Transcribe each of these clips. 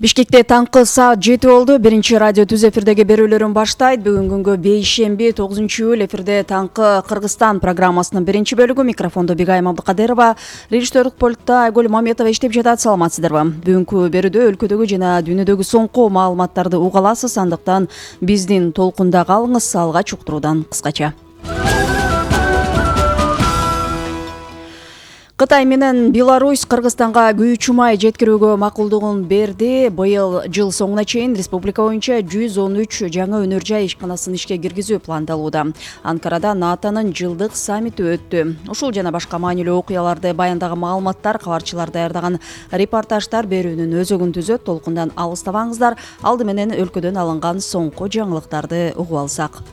Бишкекте таңкы саат 7 болду. Биринчи радио түз эфирдеги берүүлөрүн баштайт. Бүгүн күнгө бейшемби 9-июль эфирде таңкы Кыргызстан программасынын биринчи бөлүгү. Микрофондо Бигайым Абдыкадырова, режиссерлук пультта Айгүл Маметова иштеп жатат. Саламатсыздарбы? Бүгүнкү берүүдө өлкөдөгү жана дүйнөдөгү соңку маалыматтарды уга аласыз. Андыктан биздин толкунда калыңыз. Алгач уктуруудан кыскача. Кытай менен Беларусь Кыргызстанга күйүүчү май жеткирүүгө макулдугун берди. Быйыл жыл соңуна чейин республика боюнча 113 жаңы өнөр жай ишканасын ишке киргизүү пландалууда. Анкарада НАТОнун жылдык саммити өттү. Ушул жана башка маанилүү окуяларды баяндаган маалыматтар, кабарчылар даярдаган репортаждар берүүнүн өзөгүн түзөт. Толкундан алыстабаңыздар. Алды менен өлкөдөн алынган соңку жаңылыктарды угуп алсак.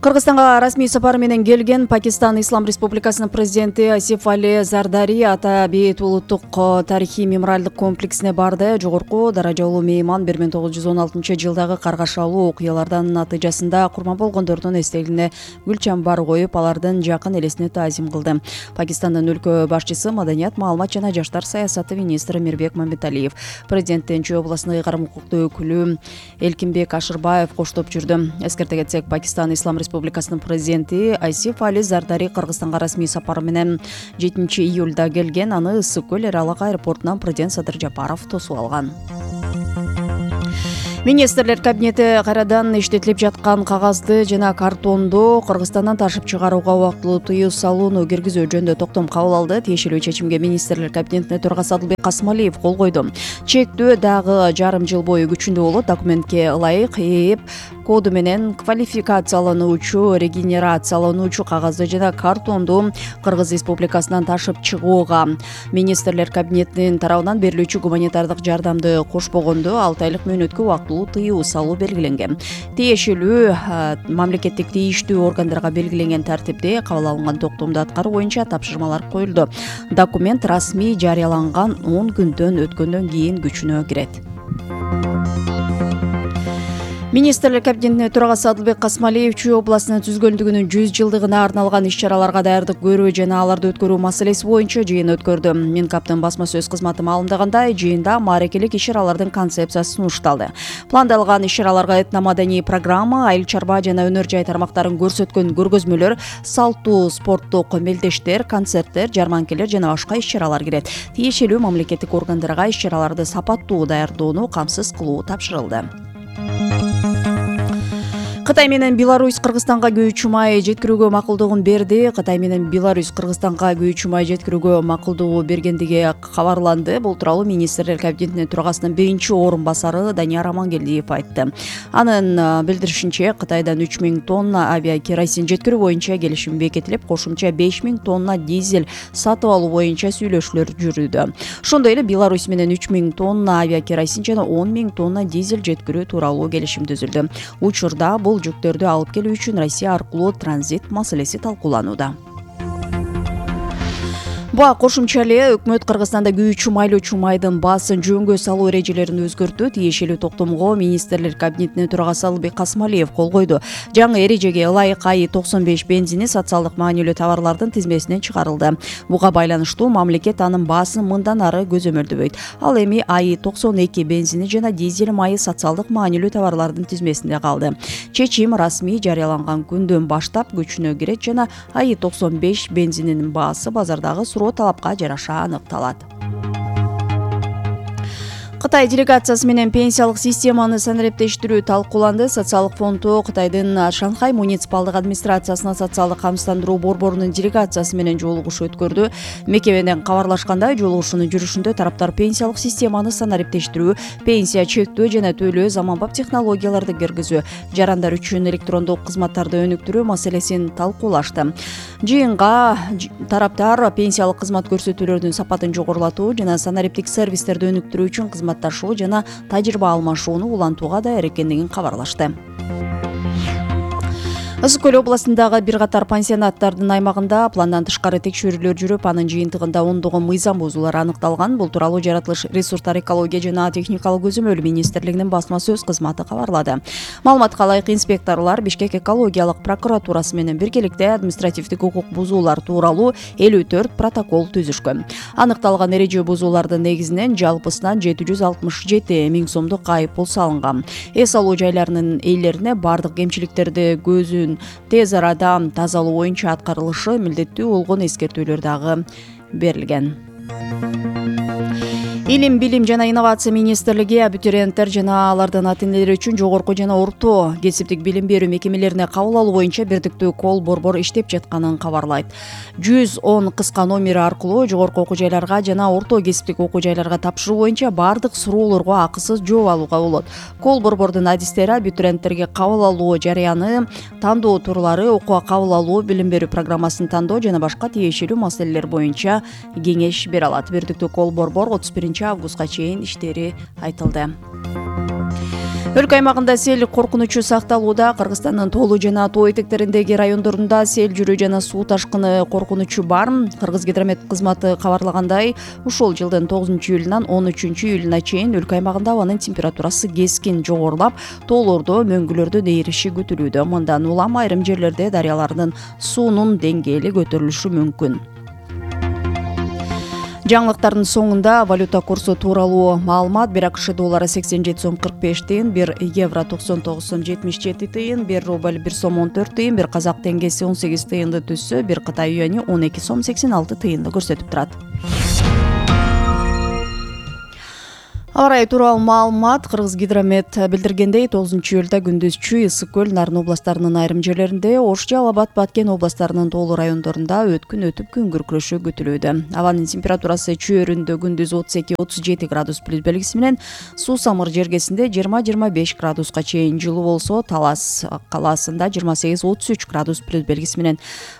Кыргызстанга расмий сапар менен келген Пакистан Ислам Республикасынын президенти Асиф Али Зардари Ата Бейит улуттук тарыхый мемориалдык комплексине барды. Жогорку даражалуу мейман 1916 жылдагы каргашалуу окуялардын натыйжасында курман болгондордун эстелигине гүл чамбар коюп, алардын жакын элесине таазим кылды. Пакистандын өлкө башчысы Маданият, маалымат жана жаштар саясаты министри Мирбек Мамбеталиев, президенттин Чүй областындагы ыйгарым укуктуу өкүлү Элкинбек Ашырбаев коштоп жүрдү. Эскерте кетсек, Пакистан Ислам Республикасынын президенти Асиф Али Зардари Кыргызстанга расмий сапар менен 7-июлда келген. Аны Ысык көл эр алак аэропортунан президент Садыр Жапаров тосуп алган. Министрлер кабинети кайрадан иштетилип жаткан кагазды жана картонду Кыргызстандан ташып чыгарууга убактылуу тыюу салууну киргизүү жөнүндө токтом кабыл алды. Тиешелүү чечимге Министрлер кабинетинин төрагасы Адылбек Касмалиев кол койду. Чектөө дагы жарым жыл бою күчүндө болот. Документке ылайык ээп коду менен квалификациялануучу, регенерациялануучу кагазды жана картонду Кыргыз Республикасынан ташып чыгууга Министрлер кабинетинин тарабынан берилүүчү гуманитардык жардамды кошпогондо 6 айлык мөөнөткө убактылуу тыюу салуу белгиленген. Тиешелүү мамлекеттик тийиштүү органдарга белгиленген тартипте кабыл алынган токтомду аткаруу боюнча тапшырмалар коюлду. Документ расмий жарыяланган 10 күндөн өткөндөн кийин күчүнө кирет. Министрлер кабинетинин төрагасы Адылбек Касмалиев Чүй областынын түзгөндүгүнүн 100 жылдыгына арналган иш-чараларга даярдык көрүү жана аларды өткөрүү маселеси боюнча жыйын өткөрдү. Минкаптын басма сөз кызматы маалымдагандай, жыйында мааракелик иш-чаралардын концепциясы сунушталды. Пландалган иш-чараларга этномаданий программа, айыл чарба жана өнөр жай тармактарын көрсөткөн көргөзмөлөр, салттуу спорттук мелдештер, концерттер, жарманкелер жана башка иш-чаралар кирет. Тиешелүү мамлекеттик органдарга иш-чараларды сапаттуу даярдоону камсыз кылуу тапшырылды. Кытай менен Беларусь Кыргызстанга күйүүчү май жеткирүүгө макулдугун берди. Кытай менен Беларусь Кыргызстанга күйүүчү май жеткирүүгө макулдугу бергендиги кабарланды. Бул тууралуу Министрлер кабинетинин төрагасынын биринчи орун басары Данияр Амангелдиев айтты. Анын билдиришинче, Кытайдан 3000 тонна авиакеросин жеткирүү боюнча келишим бекитилип, кошумча 5000 тонна дизель сатып алуу боюнча сүйлөшүүлөр жүрүүдө. Ошондой эле Беларусь менен 3000 тонна авиакеросин жана 10 000 тонна дизель жеткирүү тууралуу келишим түзүлдү. Учурда бул жүктөрдү алып келүү үчүн Россия аркылуу транзит маселеси талкууланууда. Буга кошумча эле өкмөт Кыргызстанда күйүүчү майлоочу майдын баасын жөнгө салуу эрежелерин өзгөртүү. Тиешелүү токтомго Министрлер кабинетинин төрагасы Адылбек Касмалиев кол койду. Жаңы эрежеге ылайык АИ-95 бензини социалдык маанилүү товарлардын тизмесинен чыгарылды. Буга байланыштуу мамлекет анын баасын мындан ары көзөмөлдөбөйт. Ал эми АИ-92 бензини жана дизель майы социалдык маанилүү товарлардын тизмесинде калды. Чечим расмий жарыяланган күндөн баштап күчүнө кирет жана АИ-95 бензининин баасы базардагы талапка жараша аныкталат. Кытай делегациясы менен пенсиялык системаны санариптештирүү талкууланды. Социалдык фонду Кытайдын Шанхай муниципалдык администрациясына социалдык камсыздандыруу борборунун делегациясы менен жолугуш өткөрдү. Мекемеден кабарлашкандай, жолугушуунун жүрүшүндө тараптар пенсиялык системаны санариптештирүү, пенсия чектөө жана төлөө, заманбап технологияларды киргизүү, жарандар үчүн электрондук кызматтарды өнүктүрүү маселесин талкуулашты. Жыйынга тараптар пенсиялык кызмат көрсөтүүлөрдүн сапатын жогорулатуу жана санариптик сервистерди өнүктүрүү үчүн кызматташуу жана тажрыйба алмашууну улантууга даяр экендигин кабарлашты. Ысык Көл областындагы бир катар пансионаттардын аймагында пландан тышкары текшерүүлөр жүрүп, анын жыйынтыгында ондогон мыйзам бузуулар аныкталган. Бул тууралуу Жаратылыш ресурстар экология жана техникалык көзөмөл министрлигинин басма сөз кызматы кабарлады. Маалыматка ылайык, инспекторлор Бишкек экологиялык прокуратурасы менен биргеликте административдик укук бузуулар тууралуу 54 протокол түзүшкөн. Аныкталган эреже бузуулардын негизинен жалпысынан 767 миң сомдук айып пул салынган. Эс алуу жайларынын ээлерине бардык кемчиликтерди көзүн тез арада тазалоо боюнча аткарылышы милдеттүү болгон эскертүүлөр дагы берилген. Илим, билим жана инновация министрлиги абитуриенттер жана алардын ата-энелери үчүн жогорку жана орто кесиптик билим берүү мекемелерине кабыл алуу боюнча бирдиктүү кол борбор иштеп жатканын кабарлайт. 110 кыска номери аркылуу жогорку окуу жайларга жана орто кесиптик окуу жайларга тапшыруу боюнча бардык суроолорго акысыз жооп алууга болот. Кол борбордун адистери абитуриенттерге кабыл алуу жараяны, тандоо турлары, окууга кабыл алуу, билим берүү программасын тандоо жана башка тиешелүү маселелер боюнча кеңеш бере алат. Бирдиктүү кол борбор 31 августка чейин иштери айтылды. Өлкө аймагында сел коркунучу сакталууда. Кыргызстандын Тоолу жана Тоо этектериндеги райондорунда сел жүрүү жана суу ташкыны коркунучу бар. Кыргызгидромет кызматы кабарлагандай, ушул жылдын 9-июлунан 13-июлуна чейин өлкө аймагында абанын температурасы кескин жогорулап, тоолордо мөңгүлөрдүн ээриши күтүлүүдө. Мындан улам айрым жерлерде дарыялардын суунун деңгээли көтөрүлүшү мүмкүн. Жаңылыктардын соңунда валюта курсу тууралуу маалымат: 1 АКШ доллары 87 сом 45 тыйын, 1 евро 99 сом 77 тыйын, 1 рубль 1 сом 14 тыйын, 1 казак теңгеси 18 тыйынды түзсө, 1 Кытай юани 12 сом 86 тыйынды көрсөтүп турат. Аба ырайы тууралуу маалымат: Кыргызгидромет билдиргендей, 9-июлда күндүзчү Ысык Көл, Нарын областарынын айрым жерлеринде, Ош, Жалал Абад, Баткен областарынын тоолуу райондорунда өткүн өтүп күн күркүрөшү күтүлүүдө. Абанын температурасы чөйрөндө күндүз 32-37 градус плюс белгиси менен, Суу Самыр жергесинде 20-25 градуска чейин жылуу болсо, Талас калаасында 28-33 градус плюс белгиси менен,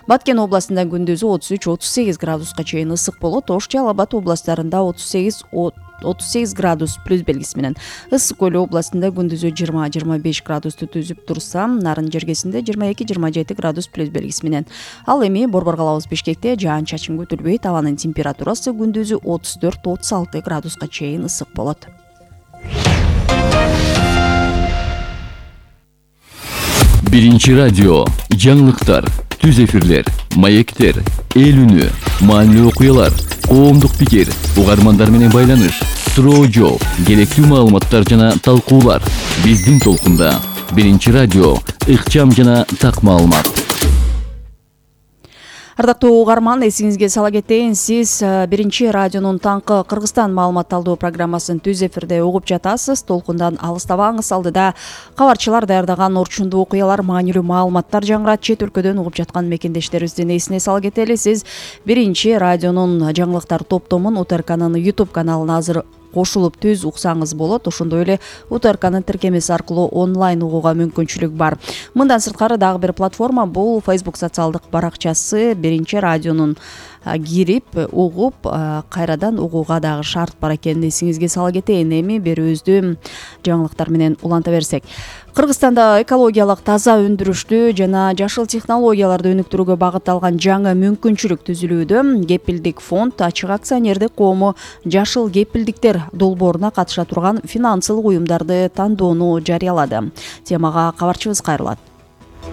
Баткен областында күндүзү 33-38 градуска чейин ысык болот. Ош, Жалал Абад областарында 38 градус плюс белгиси менен, Ысык Көл областында күндүзү 20-25 градусту түзүп турса, Нарын жергесинде 22-27 градус плюс белгиси менен. Ал эми борбор калабыз Бишкекте жаан-чачын күтүлбөйт. Абанын температурасы күндүзү 34-36 градуска чейин ысык болот. Биринчи радио, жаңылыктар, түз эфирлер, маектер, эл үнү, маанилүү окуялар, коомдук пикир, угармандар менен байланыш, суроо жооп, керектүү маалыматтар жана талкуулар. Биздин толкунда. Биринчи радио, ыкчам жана так маалымат. Ардактуу угарман, эсиңизге сала кетейин, сиз Биринчи радионун таңкы Кыргызстан маалымат алуу программасын түз эфирде угуп жатасыз. Толкундан алыстабаңыз. Алдыда кабарчылар даярдаган орчундуу окуялар, маанилүү маалыматтар жаңырат. Чет өлкөдөн угуп жаткан мекендештерибиздин эсине сала кетели. Сиз Биринчи радионун жаңылыктар топтомун УТРКнын YouTube каналына азыр кошулуп түз уксаңыз болот. Ошондой эле УТРКнын тиркемеси аркылуу онлайн угууга мүмкүнчүлүк бар. Мындан сырткары дагы бир платформа, бул Facebook социалдык баракчасы. Биринчи радионун кирип угуп, кайрадан угууга дагы шарт бар экенин эсиңизге сала кетейин. Эми берүүбүздү жаңылыктар менен уланта берсек. Кыргызстанда экологиялык таза өндүрүштү жана жашыл технологияларды өнүктүрүүгө багытталган жаңы мүмкүнчүлүк түзүлүүдө. Кепилдик фонд ачык акционердик коому жашыл кепилдиктер долбооруна катыша турган финансылык уюмдарды тандоону жарыялады. Темага кабарчыбыз кайрылат.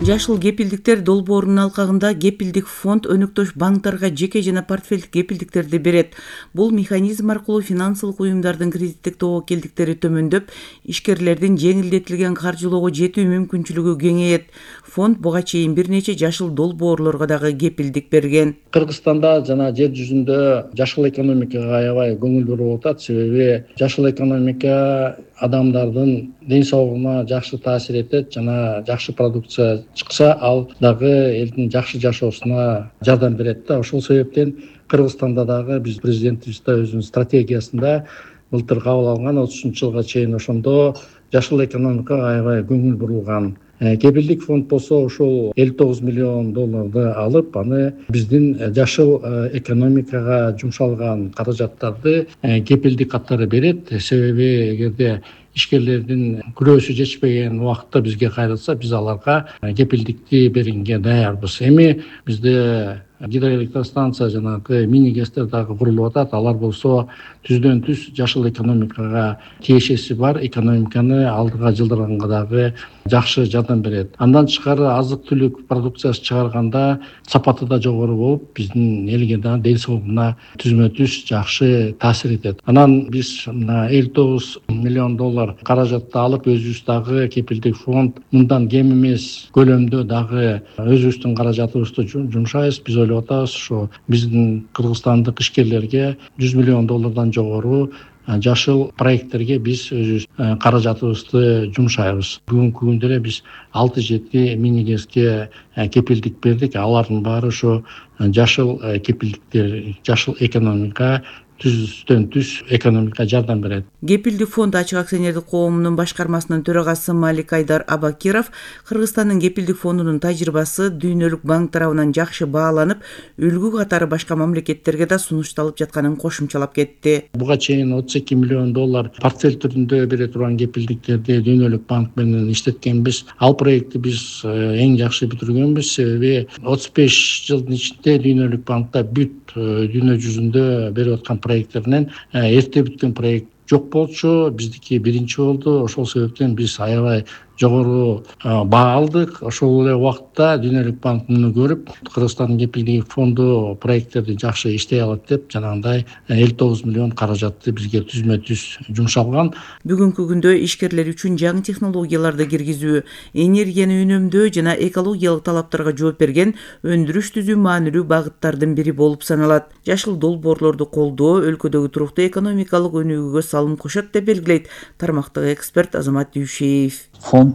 Жашыл кепилдиктер долбоорунун алкагында кепилдик фонд өнөктөш банктарга жеке жана портфелдик кепилдиктерди берет. Бул механизм аркылуу финансылык уюмдардын кредиттик тобокелдиктери төмөндөп, ишкерлердин жеңилдетилген каржылоого жетүү мүмкүнчүлүгү кеңейет. Фонд буга чейин бир нече жашыл долбоорлорго дагы кепилдик берген. Кыргызстанда жана жер жүзүндө жашыл экономикага аябай көңүл буруп атат. Себеби жашыл экономика адамдардын ден соолугуна жакшы таасир этет жана жакшы продукция чыкса, ал дагы элдин жакшы жашоосуна жардам берет да. Ошол себептен Кыргызстанда дагы биз президентибиз да өзүнүн стратегиясында былтыр кабыл алган 30-жылга чейин ошондо жашыл экономикага аябай көңүл бурулган. Кепилдик фонд болсо ошол 59 миллион долларды алып, аны биздин жашыл экономикага жумшалган каражаттарды кепилдик катары берет. Себеби эгерде ишкерлердин күрөөсү жетишпеген убакытта бизге кайрылса, биз аларга кепилдикти бергенге даярбыз. Эми бизде гидроэлектростанция жанагы мини гэстер дагы курулуп атат. Алар болсо түздөн түз жашыл экономикага тиешеси бар, экономиканы алдыга жылдырганга дагы жакшы жардам берет. Андан тышкары азык түлүк продукциясы чыгарганда сапаты да жогору болуп, биздин элге да ден соолугуна түзмө түз жакшы таасир этет. Анан биз мына $59 миллион каражатты алып, өзүбүз дагы кепилдик фонд мындан кем эмес көлөмдө дагы өзүбүздүн каражатыбызды жумшайбыз. Биз ойлоп атабыз, ошо биздин кыргызстандык ишкерлерге $100 миллион жогору жашыл проекттерге биз өзүбүз каражатыбызды жумшайбыз. Бүгүнкү күндө эле биз 6-7 мини гэске кепилдик бердик. Алардын баары ошо жашыл кепилдиктер, жашыл экономика, түздөн түз экономикага жардам берет. Кепилдик фонд ачык акционердик коомунун башкармасынын төрагасы Малик Айдар Абакиров Кыргызстандын кепилдик фондунун тажрыйбасы дүйнөлүк банк тарабынан жакшы бааланып, үлгү катары башка мамлекеттерге да сунушталып жатканын кошумчалап кетти. Буга чейин $32 миллион портфель түрүндө бере турган кепилдиктерди дүйнөлүк банк менен иштеткенбиз. Ал проектти биз эң жакшы бүтүргөнбүз, себеби 35 жылдын ичинде дүйнөлүк банкта бүт дүйнө жүзүндө берип аткан проекттеринен эрте бүткөн проект жок болчу. Биздики биринчи болду. Ошол себептен биз аябай жогору баа алдык. Ошол эле убакытта дүйнөлүк банк муну көрүп, Кыргызстандын кепилдик фонду проекттерди жакшы иштей алат деп, жанагындай $59 миллион каражатты бизге түзмө түз жумшалган. Бүгүнкү күндө ишкерлер үчүн жаңы технологияларды киргизүү, энергияны үнөмдөө жана экологиялык талаптарга жооп берген өндүрүш түзүү маанилүү багыттардын бири болуп саналат. Жашыл долбоорлорду колдоо өлкөдөгү туруктуу экономикалык өнүгүүгө салым кошот деп белгилейт тармактык эксперт Азамат Дүйшеев. Фонд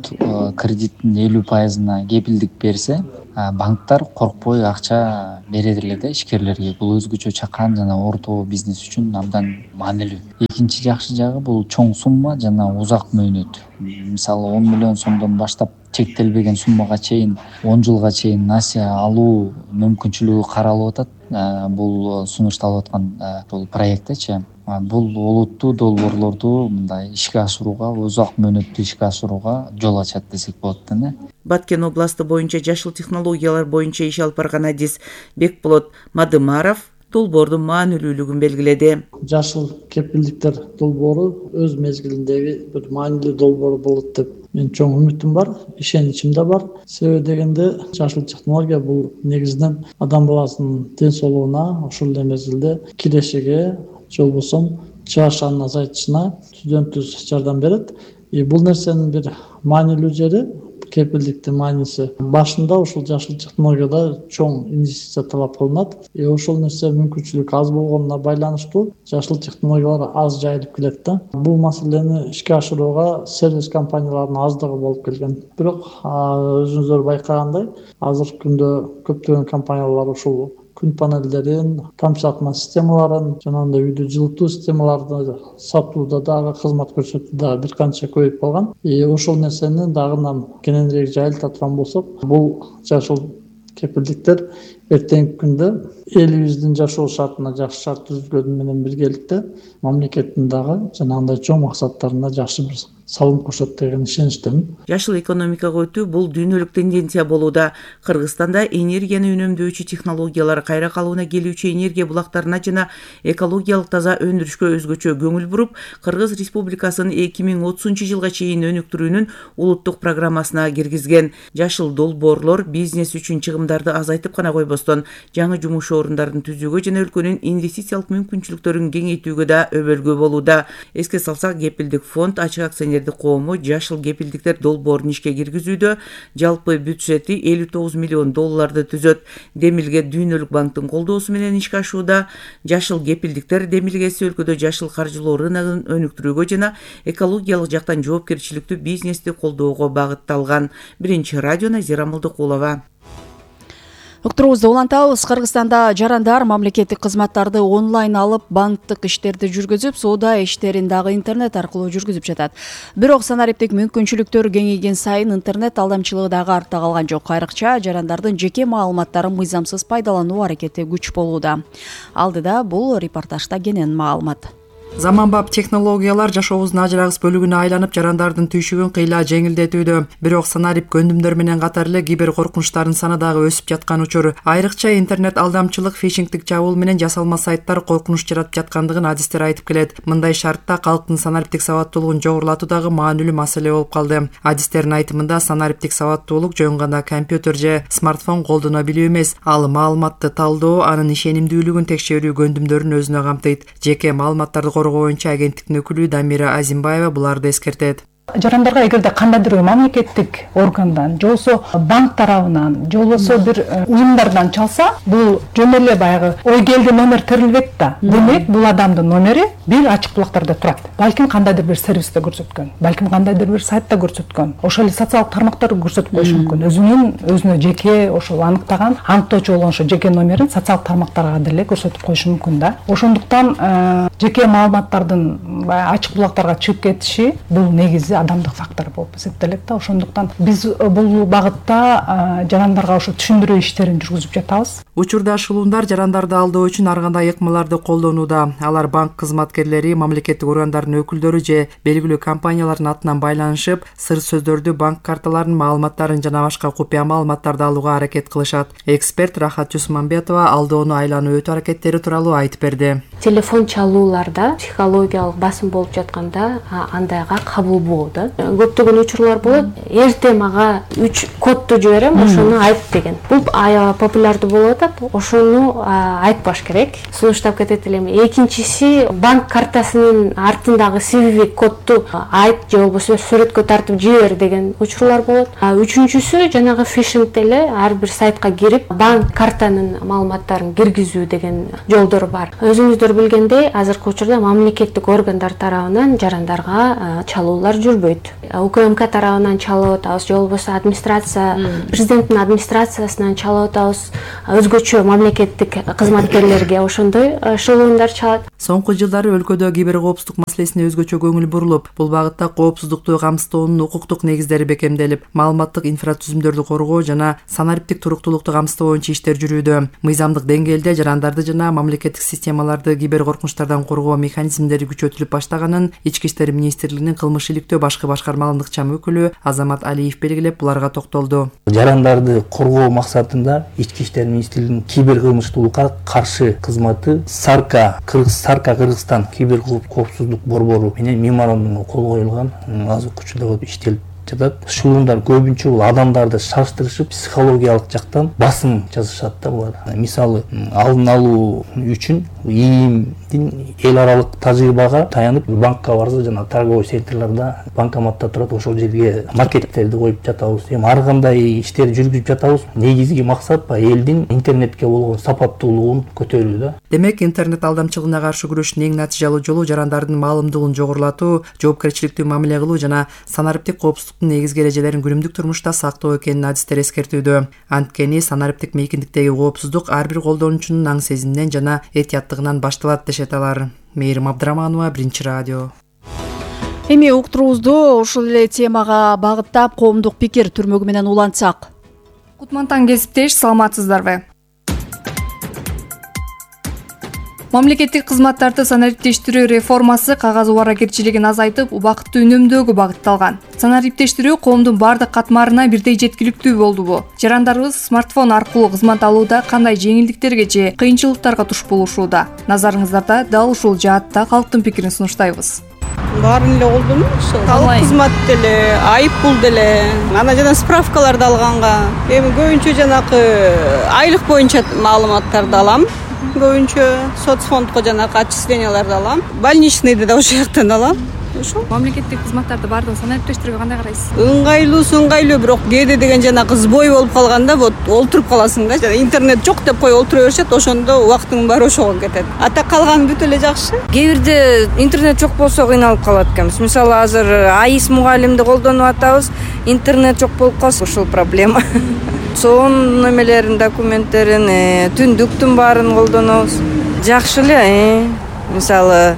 кредиттин 50%-на кепилдик берсе, банктар коркпой акча берет эле да ишкерлерге. Бул өзгөчө чакан жана орто бизнес үчүн абдан маанилүү. Экинчи жакшы жагы бул чоң сумма жана узак мөөнөт. Мисалы 10 миллион сомдон баштап чектелбеген суммага чейин 10 жылга чейин насия алуу мүмкүнчүлүгү каралып атат. Бул сунушталып аткан бул проекттечи. Бул олуттуу долбоорлорду мындай ишке ашырууга, узак мөөнөттүү ишке ашырууга жол ачат десек болот да. Баткен областы боюнча жашыл технологиялар боюнча иш алып барган адис Бекболот Мадымаров долбоордун маанилүүлүгүн белгиледи. Жашыл кепилдиктер долбоору өз мезгилиндеги бир маанилүү долбоор болот деп мен чоң үмүтүм бар, ишеничим да бар. Себеби дегенде жашыл технология бул негизинен адам баласынын ден соолугуна, ошол эле мезгилде кирешиге, же болбосо чыгашанын азайтышына түздөн түз жардам берет. Бул нерсенин бир маанилүү жери, кепилдиктин мааниси башында ушул жашыл технологияда чоң инвестиция талап кылынат. Ошол нерсе мүмкүнчүлүк аз болгонуна байланыштуу жашыл технологиялар аз жайылып келет да. Бул маселени ишке ашырууга сервис компанияларынын аздыгы болуп келген. Бирок өзүңүздөр байкагандай, азыркы күндө көптөгөн компаниялар ушул күн панелдерин, тамчылатма системаларын, жанагындай үйдү жылытуу системаларын сатууда дагы, кызмат көрсөтүүдө бир канча көбөйүп калган. Ошол нерсени дагы кененирээк жайылта турган болсок, бул жашыл кепилдиктер эртеңки күндө элибиздин жашоо шартына жакшы шарт түзүлгөнү менен биргеликте мамлекеттин дагы жанагындай чоң максаттарына жакшы бир салым кошот деген ишеничтемин. Жашыл экономикага өтүү бул дүйнөлүк тенденция болууда. Кыргызстанда энергияны үнөмдөөчү технологиялар, кайра калыбына келүүчү энергия булактарына жана экологиялык таза өндүрүшкө өзгөчө көңүл буруп, Кыргыз Республикасынын 2030 жылга чейин өнүктүрүүнүн улуттук программасына киргизген. Жашыл долбоорлор бизнес үчүн чыгымдарды азайтып гана койбостон, жаңы жумуш орундарын түзүүгө жана өлкөнүн инвестициялык мүмкүнчүлүктөрүн кеңейтүүгө да өбөлгө болууда. Эске салсак, кепилдик фонд ачык акционердик коому жашыл кепилдиктер долбоорун ишке киргизүүдө жалпы бюджети $59 миллион түзөт. Демилге дүйнөлүк банктын колдоосу менен ишке ашууда. Жашыл кепилдиктер демилгеси өлкөдө жашыл каржылоо рыногун өнүктүрүүгө жана экологиялык жактан жоопкерчиликтүү бизнести колдоого багытталган. Биринчи радио Назира Молдокулова. Уктуруубузду улантабыз. Кыргызстанда жарандар мамлекеттик кызматтарды онлайн алып, банктык иштерди жүргүзүп, соода иштерин дагы интернет аркылуу жүргүзүп жатат. Бирок санариптик мүмкүнчүлүктөр кеңейген сайын интернет алдамчылыгы дагы артта калган жок. Айрыкча жарандардын жеке маалыматтарын мыйзамсыз пайдалануу аракети күч болууда. Алдыда бул репортажда кенен маалымат. Заманбап технологиялар жашообуздун ажырагыс бөлүгүнө айланып, жарандардын түйшүгүн кыйла жеңилдетүүдө. Бирок санарип көндүмдөр менен катар эле кибер коркунучтардын саны дагы өсүп жаткан учур. Айрыкча интернет алдамчылык, фишингдик чабуул менен жасалма сайттар коркунуч жаратып жаткандыгын адистер айтып келет. Мындай шартта калктын санариптик сабаттуулугун жогорулатуу дагы маанилүү маселе болуп калды. Адистердин айтымында санариптик сабаттуулук жөн гана компьютер же смартфон колдоно билүү эмес, ал маалыматты талдоо, анын ишенимдүүлүгүн текшерүү көндүмдөрүн өзүнө камтыйт. Жеке маалыматтарды коргоо боюнча агенттиктин өкүлү Дамира Азимбаева буларды эскертет. Жарандарга эгерде кандайдыр мамлекеттик органдан, же болбосо банк тарабынан, же болбосо бир уюмдардан чалса, бул жөн эле баягы ой келди номер терилбейт да. Демек, бул адамдын номери бир ачык булактарда турат. Балким кандайдыр бир сервисте көрсөткөн, балким кандайдыр бир сайтта көрсөткөн, ошол эле социалдык тармактар көрсөтүп коюшу мүмкүн. Өзүнө жеке ошол аныктаган, аныктоочу болгон ошо жеке номерин социалдык тармактарга деле көрсөтүп коюшу мүмкүн да. Ошондуктан жеке маалыматтардын ачык булактарга чыгып кетиши бул негизи адамдык фактор болуп эсептелет да. Ошондуктан биз бул багытта жарандарга ошо түшүндүрүү иштерин жүргүзүп жатабыз. Учурда шылуундар жарандарды алдоо үчүн ар кандай ыкмаларды колдонууда. Алар банк кызматкерлери, мамлекеттик органдардын өкүлдөрү же белгилүү компаниялардын атынан байланышып, сыр сөздөрдү, банк карталарынын маалыматтарын жана башка купуя маалыматтарды алууга аракет кылышат. Эксперт Рахат Жусманбетова алдоону айлануу өтүү аракеттери тууралуу айтып берди. Телефон чалууларда психологиялык басым болуп жатканда андайга кабыл болот. Көптөгөн учурлар болот. Эрте мага 3 кодду жиберем, ошону айт деген. Бул аябай популярдуу болуп атат. Ошону айтпаш керек. Сунуштап кетет элем. Экинчиси, банк картасынын артындагы CVV кодду айт же болбосо сүрөткө тартып жибер деген учурлар болот. Үчүнчүсү, жанагы фишинг эле ар бир сайтка кирип, банк картанын маалыматтарын киргизүү деген жолдор бар. Өзүңүздөр билгендей, азыркы учурда мамлекеттик органдар тарабынан жарандарга чалуулар жүрбөйт. УКМК тарабынан чалып атабыз, же болбосо администрация, президенттин администрациясынан чалып атабыз. Өзгөчө мамлекеттик кызматкерлерге ошондой шылуундар чалат. Соңку жылдары өлкөдө кибер коопсуздук маселесине өзгөчө көңүл бурулуп, бул багытта коопсуздукту камсыздоонун укуктук негиздери бекемделип, маалыматтык инфратүзүмдөрдү коргоо жана санариптик туруктуулукту камсыздоо боюнча иштер жүрүүдө. Мыйзамдык деңгээлде жарандарды жана мамлекеттик системаларды кибер коркунучтардан коргоо механизмдери күчөтүлүп баштаганын Ички иштер министрлигинин кылмыш иликтөө башкы башкармалык чам өкүлү Азамат Алиев белгилеп, буларга токтолду. Жарандарды коргоо максатында Ички иштер министрлигинин кибер кылмыштуулукка каршы кызматы Кыргызстан кибер коопсуздук борбору менен меморандумга кол коюлган азыркы учурда иштелип жатат. Шылуундар көбүнчө бул адамдарды шаштырышып, психологиялык жактан басым жасашат да булар. Мисалы, алдын алуу үчүн ИИМдин эл аралык тажрыйбага таянып, банкка барса жана торговый центрларда банкоматта турат, ошол жерге маркеттерди коюп жатабыз. Эми ар кандай иштерди жүргүзүп жатабыз. Негизги максат элдин интернетке болгон сапаттуулугун көтөрүү да. Демек, интернет алдамчылыгына каршы күрөштүн эң натыйжалуу жолу жарандардын маалымдыгын жогорулатуу, жоопкерчиликтүү мамиле кылуу жана санариптик коопсуздуктун негизги эрежелерин күнүмдүк турмушта сактоо экенин адистер эскертүүдө. Анткени санариптик мейкиндиктеги коопсуздук ар бир колдонуучунун аң сезиминен жана этияттыгынан башталат дешет алар. Мээрим Абдыраманова, Биринчи радио. Эми уктуруубузду ушул эле темага багыттап коомдук пикир түрмөгү менен улантсак. Кутмантан кесиптеш, саламатсыздарбы? Мамлекеттик кызматтарды санариптештирүү реформасы кагаз убаракерчилигин азайтып, убакытты үнөмдөөгө багытталган. Санариптештирүү коомдун бардык катмарына бирдей жеткиликтүү болдубу? Жарандарыбыз смартфон аркылуу кызмат алууда кандай жеңилдиктерге же кыйынчылыктарга туш болушууда? Назарыңыздарда дал ушул жаатта калктын пикирин сунуштайбыз. Баарын эле колдонуп, талап кызмат деле, айып пул деле, анан жана справкаларды алганга. Эми көбүнчө жанакы айлык боюнча маалыматтарды алам. Көбүнчө соцфондко жанакы отчисленияларды алам. Больничныйды да ошол жактан алам. Ошо. Мамлекеттик кызматтарды баардыгын санариптештирүүгө кандай карайсыз? Ыңгайлуу, бирок кээде деген жанакы сбой болуп калганда вот олтуруп каласың да. Жана интернет жок деп коюп олтура беришет, ошондо убактыңдын баары ошого кетет. Ата калганы бүт эле жакшы. Кээ бирде интернет жок болсо кыйналып калат экенбиз. Мисалы, азыр АИС мугалимди колдонуп атабыз, интернет жок болуп калса ушул проблема. Сон немелерин, документтерин, түндүктүн баарын колдонобуз. Жакшы эле, мисалы,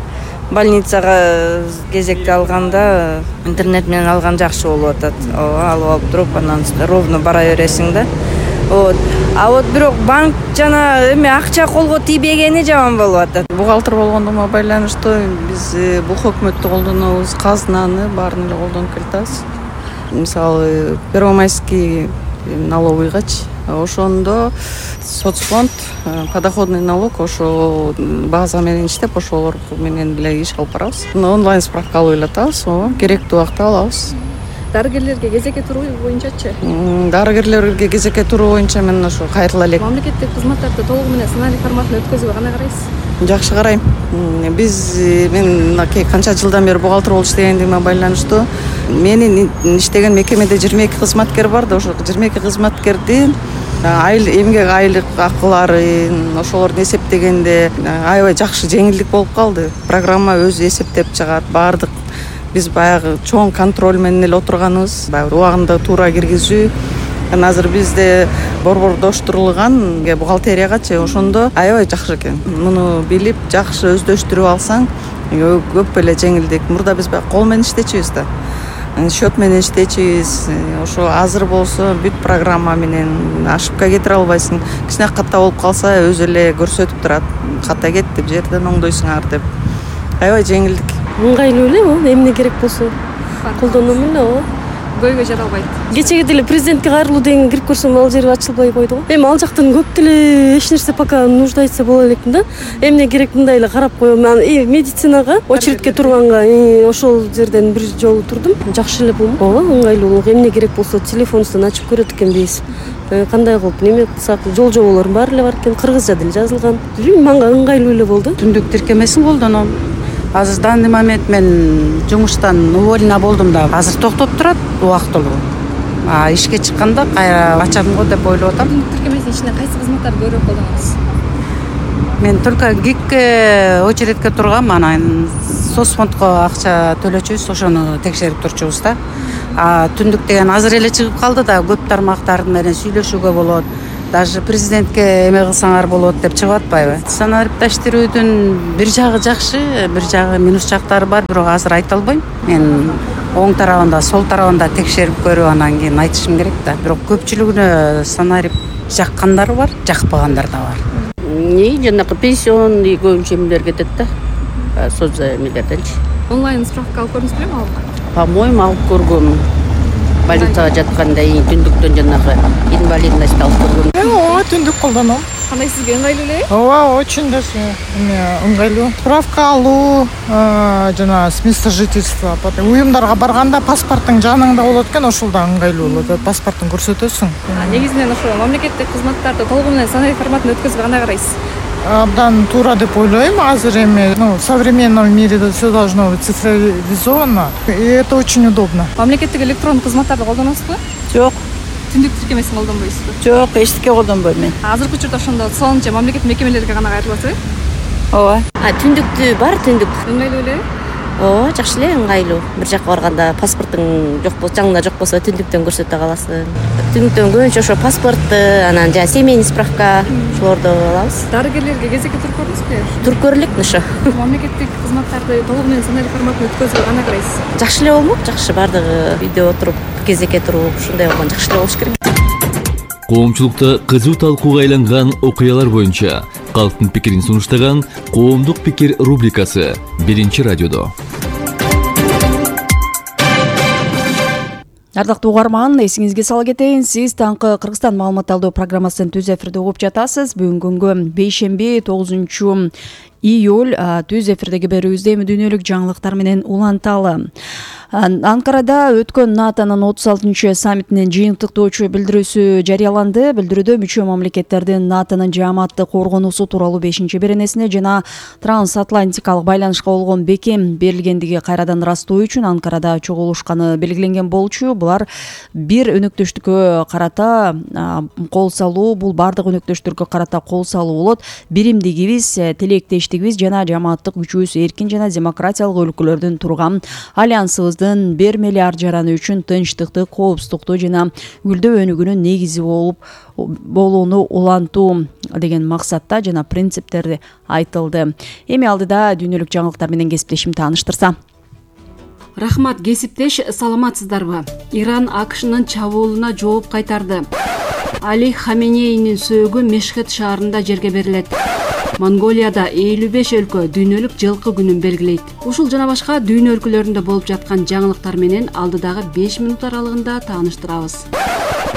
больницага кезекте алганда интернет менен алган жакшы болуп атат. Алып туруп, анан ровно бара бересиң да. вот. А вот бирок банк жана эме акча колго тийбегени жаман болуп атат. Бухгалтер болгондугума байланыштуу биз бул өкмөттү колдонобуз, казнаны баарын эле колдонуп келатабыз. Мисалы первомайский налоговыйгачы ошондо соцфонд, подоходный налог ошо база менен иштеп, ошолор менен эле иш алып барабыз. Онлайн справка алып элатабыз, керектүү убакта алабыз. Дарыгерлерге кезекке туруу боюнчачы? Дарыгерлерге кезекке туруу боюнча мен ошо кайрыла элек. Мамлекеттик кызматтарды толугу менен сценарий форматында өткөзүүгө кандай карайсыз? Жакшы карайм. Мен мынакей канча жылдан бери бухгалтер болуп иштегендигиме байланыштуу менин иштеген мекемеде 22 кызматкер бар да, ошо 22 кызматкердин эмгек айлык акылары ошолорду эсептегенде аябай жакшы жеңилдик болуп калды. Программа өзү эсептеп чыгат, баардык биз баягы чоң контроль менен эле отурганыбыз, баягы убагында туура киргизүү. Азыр бизде борбордоштурулган бухгалтериягачы ошондо аябай жакшы экен. Муну билип, жакшы өздөштүрүп алсаң, көп эле жеңилдик. Мурда биз баягы кол менен иштечүбүз да. Счет менен иштечүбүз. Ошо азыр болсо бүт программа менен ошибка кетире албайсың. Кичине ката болуп калса өзү эле көрсөтүп турат. Ката кетти, бул жерден оңдойсуңар деп. Аябай жеңилдик. Ыңгайлуу эле, эмне керек болсо колдоном эле. Көйгөй жаралбайт. Кечеге деле президентке кайрылуу деген кирип көрсөм ал жери ачылбай койду го. Эми ал жактан көп деле эч нерсе пока нуждается боло элекмин да. Эмне керек мындай эле карап коем. Медицинага очередке турганга ошол жерден бир жолу турдум. Жакшы эле бул. Ооба, ыңгайлуу. Эмне керек болсо телефонубуздан ачып көрөт экенбиз. Кандай кылып неме кылсак, жол жоболор баары эле бар экен. Кыргызча деле жазылган. Мага ыңгайлуу эле болду. Түндүк тиркемесин колдоном. Азыр данный момент мен жумуштан уволена болдум да, азыр токтоп турат убактылуу. Ишке чыкканда кайра ачам го деп ойлоп атам. Тиркемесинин ичинде кайсы кызматтарды көбүрөөк колдоносуз? Мен только ГИКке очередке тургам, анан соцфондко акча төлөчүбүз, ошону текшерип турчубуз да. Түндүк деген азыр эле чыгып калды да, көп тармактар менен сүйлөшүүгө болот. Даже президентке эме кылсаңар болот деп чыгып атпайбы? Санариптештирүүдүн бир жагы жакшы, бир жагы минус жактары бар, бирок азыр айта албайм. Мен оң тарабында, сол тарабында текшерип көрүп анан кийин айтышым керек да. Бирок көпчүлүгүнө санарип жаккандар бар, жакпагандар да бар. Жанакы пенсион көбүнчө эмелер кетет да. Соцзаймилерденчи. Онлайн справка алып көрдүңүз белеми алып? По-моему, алып көргөм. Больницага жатканда түндүктөн жанагы инвалидность алып көргөм. Ооба, түндүк колдоном. Кандай сизге ыңгайлуу эле? Ооба, очень даже ыңгайлуу. Справка алуу, жана с места жительства. Уюмдарга барганда паспорттуң жаныңда болот экен, ошол да ыңгайлуу болот. Паспортун көрсөтөсүң. Негизинен ошо мамлекеттик кызматтарды толугу менен сценарий форматында өткөзүүгө кандай карайсыз? Абдан туура деп ойлойм. Азыр эми в современном мире все должно быть цифровизовано, и это очень удобно. Мамлекеттик электрондук кызматтарды колдоносузбу? Жок. Түндүк тиркемесин колдонбойсузбу? Жок, эчтеке колдонбойм мен. Азыркы учурда ошондо сон же мамлекеттик мекемелерге гана кайрыласызбы? Ооба. Түндүктү бар, түндүк. Ыңгайлуу эле? Ооба, жакшы эле, ыңгайлуу. Бир жакка барганда паспортуң жок болсо, жаңында жок болсо түндүктөн көрсөтө каласың. Түндүктөн көбүнчө ошо паспортту, анан жана семейный справка ошолорду алабыз. Дарыгерлерге кезекке туруп көрдүңүзбү? Туруп көрөлүк ошо. Мамлекеттик кызматтарды толугу менен сценарий форматында өткөзүүгө кандай карайсыз? Жакшы эле болмок, жакшы, баардыгы үйдө отуруп, кезекке туруп, ушундай болгон жакшы эле болуш керек. Коомчулукта кызуу талкууга айланган окуялар боюнча калктын пикирин сунуштаган Коомдук пикир рубрикасы Биринчи радиодо. Ардактуу угарман, эсиңизге сала кетейин, сиз таңкы Кыргызстан маалымат алуу программасын түз эфирде угуп жатасыз. Бүгүнкү күнгө бейшемби 9 июль түз эфирдеги берүүбүздө эми дүйнөлүк жаңылыктар менен уланталы. Анкарада өткөн НАТОнун 36 саммитинин жыйынтыктоочу билдирүүсү жарыяланды. Билдирүүдө мүчө мамлекеттердин НАТОнун жааматтык коргонуусу тууралуу 5-беренесине жана трансатлантикалык байланышка болгон бекем берилгендиги кайрадан ырастоо үчүн Анкарада чогулушканы белгиленген болчу. Булар бир өнөктөштүккө карата кол салуу, бул бардык өнөктөштөргө карата кол салуу болот. Биримдигибиз, тилектештигибиз жана жааматтык күчүбүз эркин жана демократиялык өлкөлөрдүн турган альянсыбыз бермели ар жараны үчүн тынчтыкты, коопсуздукту жана гүлдөө өнүгүүнүн негизи болууну улантуу деген максатта жана принциптерди айтылды. Эми алдыда дүйнөлүк жаңылыктар менен кесиптешим тааныштырса. Рахмат, кесиптеш, саламатсыздарбы? Иран АКШнын чабуулуна жооп кайтарды. Али Хаменейнин сөөгү Мешхет шаарында жерге берилет. Монголияда 55 өлкө дүйнөлүк жылкы күнүн белгилейт. Ушул жана башка дүйнө өлкөлөрүндө болуп жаткан жаңылыктар менен алдыдагы 5 минут аралыгында тааныштырабыз.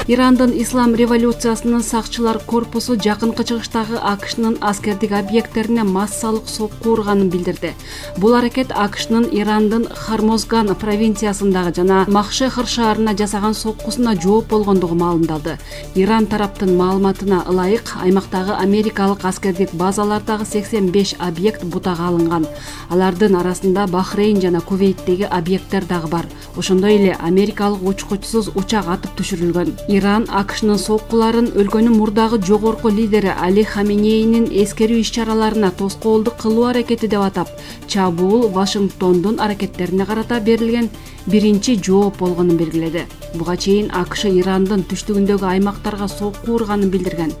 Ирандын ислам революциясынын сакчылар корпусу жакынкы чыгыштагы АКШнын аскердик объекттерине массалык сокку урганын билдирди. Бул аракет АКШнын Ирандын Хармозган провинциясындагы жана Махшехр шаарына жасаган соккусуна жооп болгондугу маалымдалды. Иран тараптын маалыматына ылайык, аймактагы америкалык аскердик базалардагы 85 объект бутага алынган. Алардын арасында Бахрейн жана Кувейттеги объекттер дагы бар. Ошондой эле америкалык учкучсуз учак атып түшүрүлгөн. Иран АКШнын соккуларын өлкөнүн мурдагы жогорку лидери Али Хаменейнин эскерүү иш-чараларына тоскоолдук кылуу аракети деп атап, чабуул Вашингтондун аракеттерине карата берилген биринчи жооп болгонун белгиледи. Буга чейин АКШ Ирандын түштүгүндөгү аймактарга сокку урганын билдирген.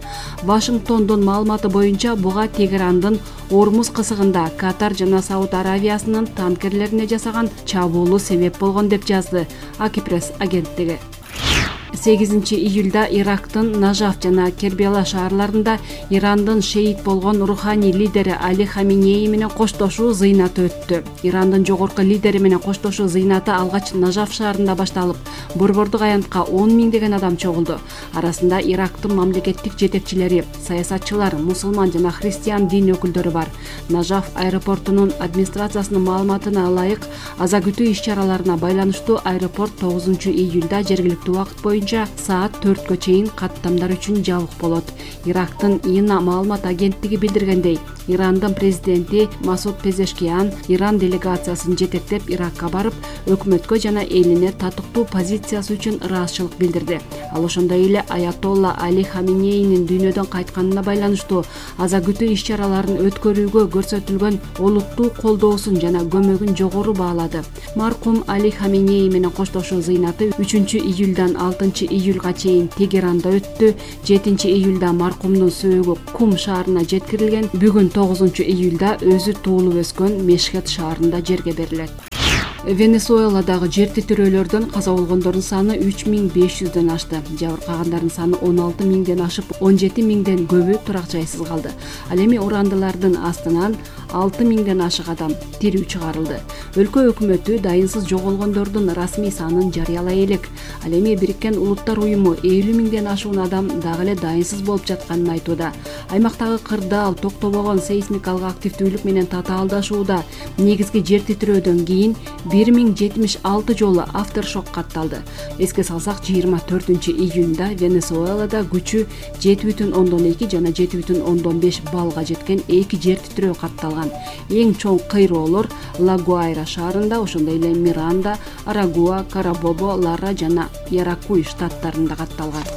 Вашингтондун маалыматы боюнча буга Тегерандын Ормуз кысыгында Катар жана Сауд Аравиясынын танкерлерине жасаган чабуулу себеп болгон деп жазды Акипресс агенттиги. 8 июлда Ирактын Нажаф жана Кербела шаарларында Ирандын шейит болгон руханий лидери Али Хаменей менен коштошуу зыйнаты өттү. Ирандын жогорку лидери менен коштошуу зыйнаты алгач Нажаф шаарында башталып, борбордук аянтка 10 миңдеген адам чогулду. Арасында Ирактын мамлекеттик жетекчилери, саясатчылар, мусулман жана христиан дин өкүлдөрү бар. Нажаф аэропортунун администрациясынын маалыматына ылайык, аза күтүү иш-чараларына байланыштуу аэропорт 9 июлда жергиликтүү убакыт боюнча саат 4-кө чейин каттамдар үчүн жабык болот. Ирактын ИНА маалымат агенттиги билдиргендей, Ирандын президенти Масуд Пезешкиян Иран делегациясын жетектеп Иракка барып, өкмөткө жана элине татыктуу позициясы үчүн ыраазычылык билдирди. Ал ошондой эле Аятолла Али Хаменейнин дүйнөдөн кайтканына байланыштуу аза күтүү иш-чараларын өткөрүүгө көрсөтүлгөн олуттуу колдоосун жана көмөгүн жогору баалады. Маркум Али Хаменей менен коштошуу зыйнаты 3 июлдан 6 июлга чейин Тегеранда өттү. 7 июлда маркумдун сөөгү Кум шаарына жеткирилген. Бүгүн 9 июлда өзү туулуп өскөн Мешхет шаарында жерге берилет. Венесуэладагы жер титирөөлөрдөн каза болгондордун саны 3500дөн ашты. Жабыркагандардын саны 16 миңден ашып, 17 миңден көбү турак жайсыз калды. Ал эми урандылардын астынан 6 миңден ашык адам тирүү чыгарылды. Өлкө өкмөтү дайынсыз жоголгондордун расмий санын жарыялай элек. Ал эми Бириккен Улуттар уюму 50 миңден ашуун адам дагы эле дайынсыз болуп жатканын айтууда. Аймактагы кырдаал токтобогон сейсмикалык активдүүлүк менен татаалдашууда. Негизги жер титирөөдөн кийин 1076 жолу авторшок катталды. Эске салсак, 24 июнда Венесуэлада күчү 7,2 жана 7,5 баллга жеткен 2 жер титирөө катталган. Эң чоң кыйроолор Ла-Гуайра шаарында, ошондой эле Миранда, Арагуа, Карабобо, Лара жана Яракуй штаттарында катталган.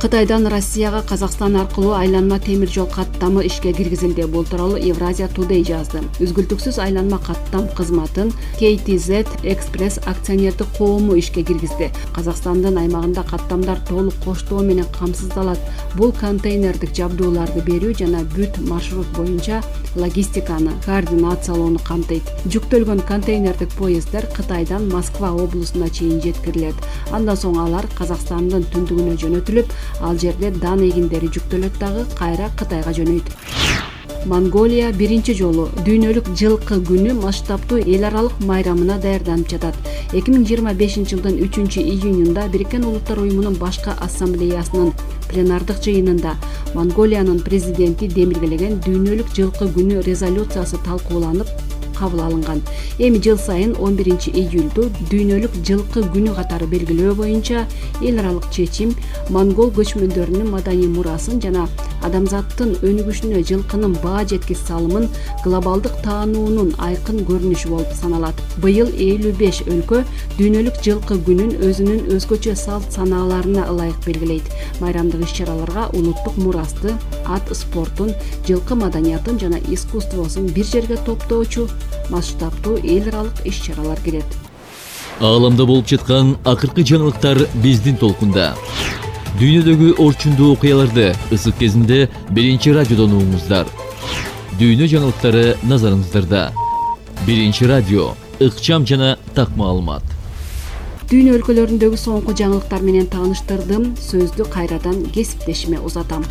Кытайдан Россияга Казакстан аркылуу айланма темир жол каттамы ишке киргизилди. Бул тууралуу Евразия Today жазды. Үзгүлтүксүз айланма каттам кызматын KTZ Express акционердик коому ишке киргизди. Казакстандын аймагында каттамдар толук коштоо менен камсыздалат. Бул контейнердик жабдууларды берүү жана бүт маршрут боюнча логистиканы координациялоону камтыйт. Жүктөлгөн контейнердик поезддер Кытайдан Москва облусуна чейин жеткирилет. Андан соң алар Казакстандын түндүгүнө жөнөтүлүп, ал жерде дан эгиндери жүктөлөт дагы кайра Кытайга жөнөйт. Монголия биринчи жолу дүйнөлүк жылкы күнү масштабтуу эл аралык майрамына даярданып жатат. 2025 жылдын 3 июнунда Бириккен Улуттар уюмунун башкы ассамблеясынын пленардык жыйынында Монголиянын президенти демилгелеген дүйнөлүк жылкы күнү резолюциясы талкууланып кабыл алынган. Эми жыл сайын 11 июлду дүйнөлүк жылкы күнү катары белгилөө боюнча эл аралык чечим монгол көчмөндөрүнүн маданий мурасын жана адамзаттын өнүгүшүнө жылкынын баа жеткис салымын глобалдык таануунун айкын көрүнүшү болуп саналат. Быйыл 55 өлкө дүйнөлүк жылкы күнүн өзүнүн өзгөчө салт санааларына ылайык белгилейт. Майрамдык иш-чараларга улуттук мурасты, ат спортун, жылкы маданиятын жана искусствосун бир жерге топтоочу масштабтуу эл аралык иш-чаралар кирет. Ааламда болуп жаткан акыркы жаңылыктар биздин толкунда. Дүйнөдөгү орчундуу окуяларды ысык кезинде биринчи радиодон угуңуздар. Дүйнө жаңылыктары назарыңыздарда. Биринчи радио, ыкчам жана так маалымат. Дүйнө өлкөлөрүндөгү соңку жаңылыктар менен тааныштырдым. Сөздү кайрадан кесиптешиме узатам.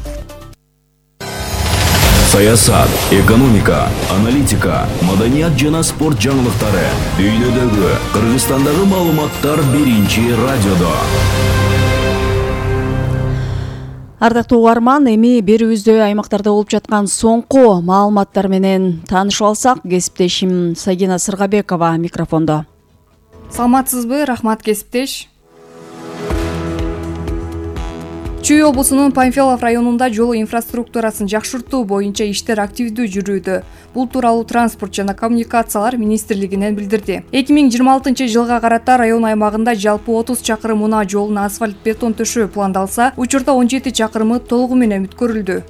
Саясат, экономика, аналитика, маданият жана спорт жаңылыктары. Дүйнөдөгү, Кыргызстандагы маалыматтар биринчи радиодо. Ардактуу угарман, эми берүүбүздө аймактарда болуп жаткан соңку маалыматтар менен таанышып алсак, кесиптешим Сагина Сыргабекова микрофондо. Саламатсызбы? Рахмат, кесиптеш. Чүй облусунун Панфилов районунда жол инфраструктурасын жакшыртуу боюнча иштер активдүү жүрүүдө. Бул тууралуу Транспорт жана коммуникациялар министрлигинен билдирди. 2026 жылга карата район аймагында жалпы 30 чакырым унаа жолуна асфальт бетон төшөө пландалса, учурда 17 чакырымы толугу менен бүткөрүлдү.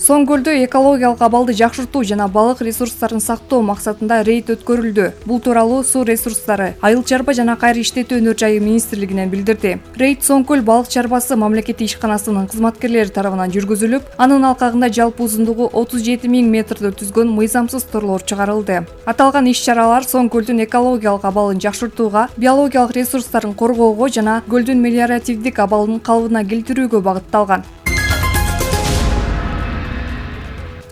Соң көлдө экологиялык абалды жакшыртуу жана балык ресурстарын сактоо максатында рейд өткөрүлдү. Бул тууралуу Суу ресурстары, Айыл чарба жана кайра иштетүү өнөр жайы министрлигинен билдирди. Рейд Соң көл балык чарбасы мамлекеттик ишканасынын кызматкерлери тарабынан жүргүзүлүп, анын алкагында жалпы узундугу 37 000 метрди түзгөн мыйзамсыз торлор чыгарылды. Аталган иш-чаралар Соң көлдүн экологиялык абалын жакшыртууга, биологиялык ресурстарын коргоого жана көлдүн мелиоративдик абалын калыбына келтирүүгө багытталган.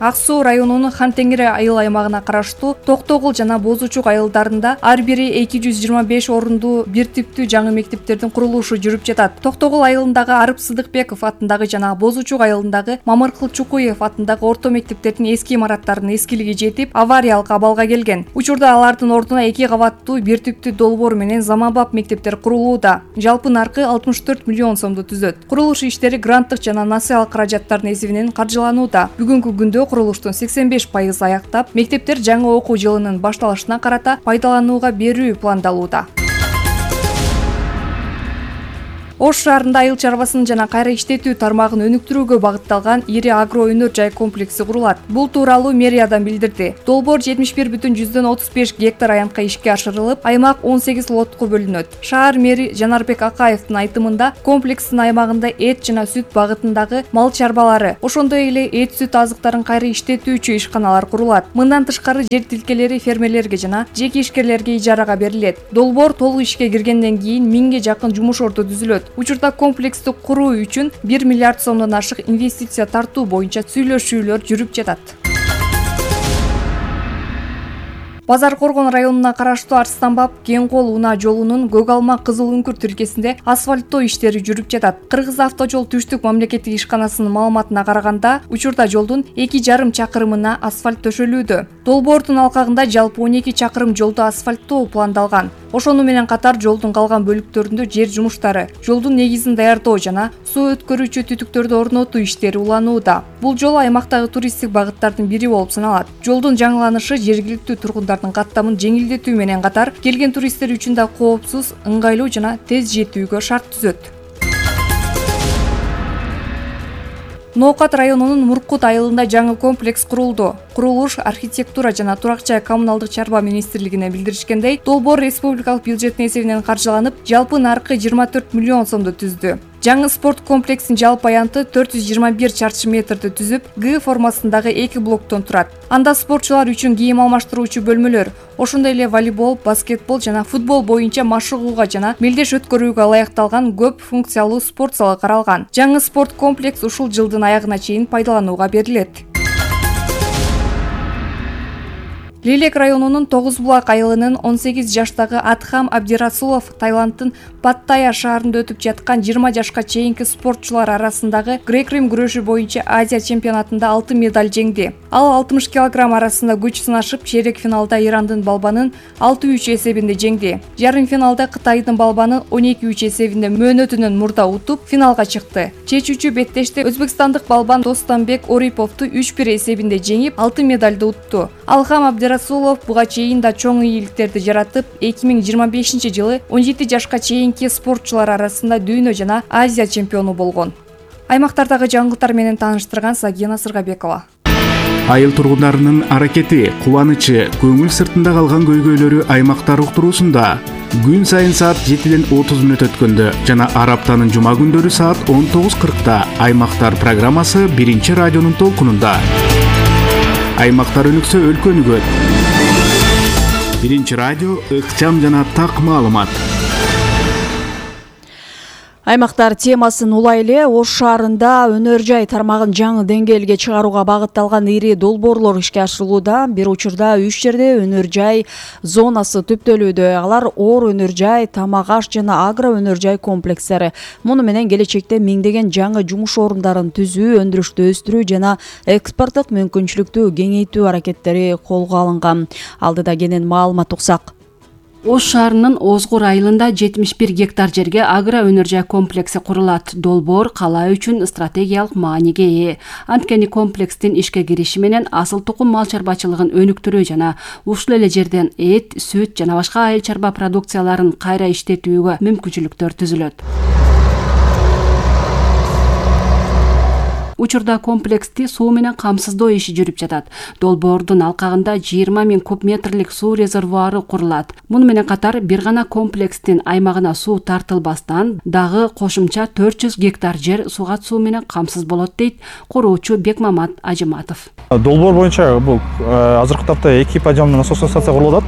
Ак Суу районунун Хан Теңире айыл аймагына караштуу Токтогул жана Бозучук айылдарында ар бири 225 орундуу бир типтүү жаңы мектептердин курулушу жүрүп жатат. Токтогул айылындагы Арып Сыдыкбеков атындагы жана Бозучук айылындагы Мамыркыл Чукуев атындагы орто мектептердин эски имараттарынын эскилиги жетип, авариялык абалга келген. Учурда алардын ордуна 2 кабаттуу бир типтүү долбоор менен заманбап мектептер курулууда. Жалпы наркы 64 миллион сомду түзөт. Курулуш иштери гранттык жана насыялык каражаттардын эсебинен каржыланууда. Бүгүнкү күндө курулуштун 85% аяктап, мектептер жаңы окуу жылынын башталышына карата пайдаланууга берүү пландалууда. Ош шаарында айыл чарбасын жана кайра иштетүү тармагын өнүктүрүүгө багытталган ири агро өнөр жай комплекси курулат. Бул тууралуу мэриядан билдирди. Долбоор 71,35 гектар аянтка ишке ашырылып, аймак 18 лотко бөлүнөт. Шаар мэри Жанарбек Акаевдин айтымында комплекстин аймагында эт жана сүт багытындагы мал чарбалары, ошондой эле эт сүт азыктарын кайра иштетүүчү ишканалар курулат. Мындан тышкары жер тилкелери фермерлерге жана жеке ишкерлерге ижарага берилет. Долбоор толук ишке киргенден кийин 1000ге жакын жумуш орду түзүлөт. Учурда комплексти куруу үчүн 1 миллиард сомдон ашык инвестиция тартуу боюнча сүйлөшүүлөр жүрүп жатат. Базар Коргон районуна караштуу Арстанбап Кеңкол унаа жолунун Көгалма Кызыл Үңкүр тилкесинде асфальттоо иштери жүрүп жатат. Кыргыз автожол түштүк мамлекеттик ишканасынын маалыматына караганда, учурда жолдун 2,5 чакырымына асфальт төшөлүүдө. Долбоордун алкагында жалпы 12 чакырым жолду асфальттоо пландалган. Ошону менен катар жолдун калган бөлүктөрүндө жер жумуштары, жолдун негизин даярдоо жана суу өткөрүүчү түтүктөрдү орнотуу иштери уланууда. Бул жол аймактагы туристтик багыттардын бири болуп саналат. Жолдун жаңыланышы жергиликтүү тургундардын каттамын жеңилдетүү менен катар келген туристтер үчүн да коопсуз, ыңгайлуу жана тез жетүүгө шарт түзөт. Ноокат районунун Муркут айылында жаңы комплекс курулду. Курулуш архитектура жана турак жай коммуналдык чарба министрлигине билдиришкендей, долбоор республикалык бюджеттин эсебинен каржыланып, жалпы наркы 24 миллион сомду түздү. Жаңы спорт комплексинин жалпы аянты 421 чарчы метрди түзүп, Г формасындагы 2 блоктон турат. Анда спортчулар үчүн кийим алмаштыруучу бөлмөлөр, ошондой эле волейбол, баскетбол жана футбол боюнча машыгууга жана мелдеш өткөрүүгө ылайыкталган көп функциялуу спорт залы каралган. Жаңы спорт комплекс ушул жылдын аягына чейин пайдаланууга берилет. Лелек районунун Тогузбулак айылынын 18 жаштагы Атхам Абдирасулов Таиланддын Паттайя шаарында өтүп жаткан 20 жашка чейинки спортчулар арасындагы грек-рим күрөшү боюнча Азия чемпионатында алтын медаль жеңди. Ал 60 кг арасында күч сынашып, чейрек финалда Ирандын балбанын 6-3 эсебинде жеңди. Жарым финалда Кытайдын балбанын 12-3 эсебинде мөөнөтүнөн мурда утуп, финалга чыкты. Чечүүчү беттеште өзбекстандык балбан Достанбек Ориповду 3-1 эсебинде жеңип, алтын медальды утту. Алхам Расулов буга чейин да чоң ийгиликтерди жаратып, 2025 жылы 17 жашка чейинки спортчулар арасында дүйнө жана Азия чемпиону болгон. Аймактардагы жаңылыктар менен тааныштырган Сагина Сыргабекова. Айыл тургундарынын аракети, кубанычы, көңүл сыртында калган көйгөйлөрү аймактар уктуруусунда күн сайын саат 7ден 30 мүнөт өткөндө жана ар аптанын жума күндөрү саат 19:40 аймактар программасы биринчи радионун толкунунда. Аймактар өнүксө өлкө өнүгөт. Биринчи радио ыкчам жана так маалымат. Аймактар темасын улай эле Ош шаарында өнөр жай тармагын жаңы деңгээлге чыгарууга багытталган ири долбоорлор ишке ашырылууда. Бир учурда 3 жерде өнөр жай зонасы түптөлүүдө. Алар оор өнөр жай, тамак аш жана агро өнөр жай комплекстери. Муну менен келечекте миңдеген жаңы жумуш орундарын түзүү, өндүрүштү өстүрүү жана экспорттук мүмкүнчүлүктү кеңейтүү аракеттери колго алынган. Алдыда кенен маалымат уксак. Ош шаарынын Озгур айылында 71 гектар жерге агро өнөр жай комплекси курулат. Долбоор кала үчүн стратегиялык мааниге ээ. Анткени комплекстин ишке кириши менен асыл тукум мал чарбачылыгын өнүктүрүү жана ушул эле жерден эт, сүт жана башка айыл чарба продукцияларын кайра иштетүүгө мүмкүнчүлүктөр түзүлөт. Учурда комплексти суу менен камсыздоо иши жүрүп жатат. Долбоордун алкагында 20 000 куб метрлик суу резервуары курулат. Муну менен катар бир гана комплекстин аймагына суу тартылбастан дагы кошумча 400 гектар жер сугат суу менен камсыз болот дейт куруучу Бекмамат Ажыматов. Долбоор боюнча бул азыркы тапта 2 подъемный насосный станция курулат.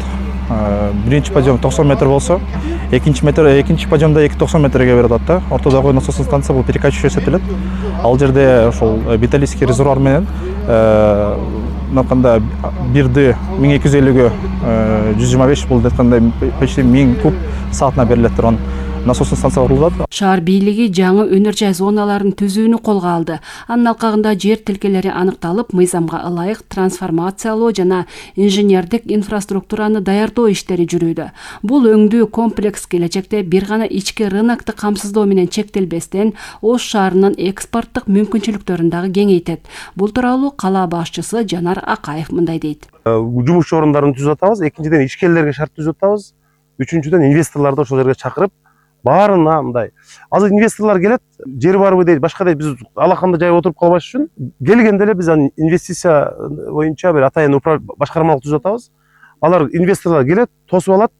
Биринчи подъем 90 метр болсо, экинчи подъемда 290 метрге берет да. Ортодогу насосный станция бул перекачивающий эсептелет. Ал жерде ошол металлический резервуар менен мынаканда бирди 1250гө 125 бул детканда почти 1000 куб саатына берилет турган насосный станция курулат. Шаар бийлиги жаңы өнөр жай зоналарын түзүүнү колго алды. Анын алкагында жер тилкелери аныкталып, мыйзамга ылайык трансформациялоо жана инженердик инфраструктураны даярдоо иштери жүрүүдө. Бул өңдүү комплекс келечекте бир гана ички рынокты камсыздоо менен чектелбестен Ош шаарынын экспорттук мүмкүнчүлүктөрүн дагы кеңейтет. Бул тууралуу кала башчысы Жанар Акаев мындай дейт. Жумуш орундарын түзүп атабыз, экинчиден ишкерлерге шарт түзүп атабыз, үчүнчүдөн инвесторлорду ошол жерге чакырып баарына мындай. Азыр инвесторлор келет, жер барбы дейт, башка дейт, биз алаканда жайып отуруп калбаш үчүн келгенде эле биз инвестиция боюнча бир атайын башкармалык түзүп атабыз. Алар инвесторлор келет, тосуп алат,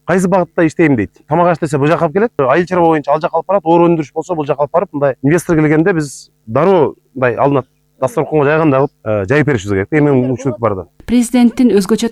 кайсы багытта иштейм дейт. Тамак аш десе бул жака алып келет, айыл чарба боюнча ал жака алып барат, оор өндүрүш болсо бул жака алып барып, мындай инвестор келгенде биз дароо мындай алынат дасторконго жайганда кылып жайып беришибиз керек. Эми мүмкүнчүлүк бар да. Президенттин өзгөчө